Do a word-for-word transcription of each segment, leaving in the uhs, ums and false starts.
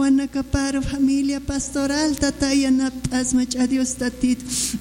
Wanakapar familia pastoral, tata, yanapt'asma, ch'a Dios Tatit.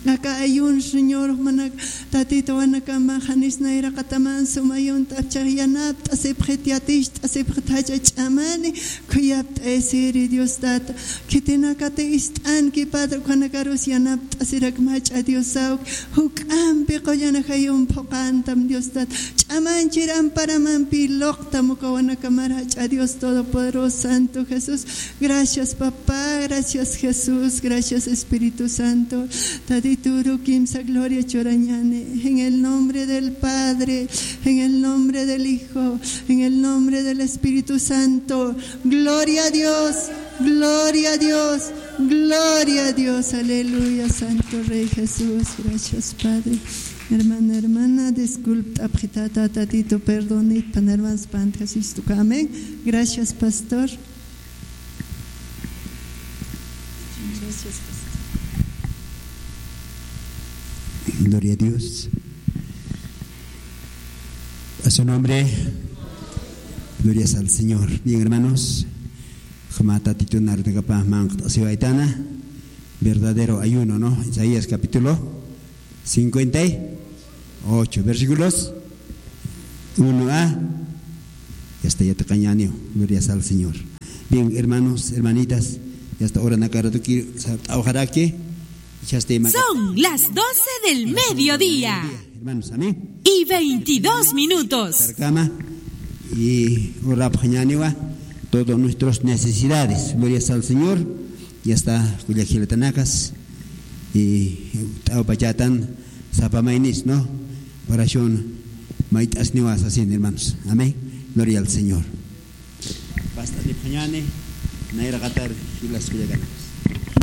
Aka ayun, Señor, manak, Tatit, wanakama janis nayraqataman suma ayunt'apchax yanapt'asipxit, yaticht'asipxit, jach'a ch'amani khuyapt'ayasiri, Dios Tata. Khitinakati ist'anki, Padre, ukhanakarus yanapt'asirakma, jach'a Diosaw. Juk'ampi qullan ajayun phuqantam, Dios Tata. Ch'amanchir amparamampi luqtam uka wanakamar, jach'a Dios Todopoderoso, Santo Jesús. Gracias, Papá. Gracias, Jesús. Gracias, Espíritu Santo. Tatitur kimsa gloria churañani. En el nombre del Padre, en el nombre del Hijo, en el nombre del Espíritu Santo. Gloria a Dios. Gloria a Dios. Gloria a Dios. Aleluya, Santo Rey Jesús. Gracias, Padre. Hermana, hermana, disculpa, apretata, Tatito, perdonit, pan hermanos, pan Jesús, amén. Gracias, pastor. Gloria a Dios. A su nombre. Glorias al Señor. Bien, hermanos. Jama Tatitun arunakapax manq't'asiwaytana. Verdadero ayuno, ¿no? Isaías capítulo cincuenta y ocho, versículos uno a, ya está, ya te cañaneo. Gloria al Señor. Bien, hermanos, hermanitas, ya está, hora nakaratuki, sa-, trabajar aquí. Ya está, ma- Son las doce del mediodía. Hermanos, amén. Y veintidós minutos. Sarkama, y orapxañaniwa todas nuestras necesidades. Gloria al Señor. Ya está, kullakilatanakas. Y t'awpachatan sapamaynis, ¿no? Oración mayt'asniwa sasin, hermanos. Amén. Gloria al Señor. Basta de pañane, naira qatar, y las kullakanakas.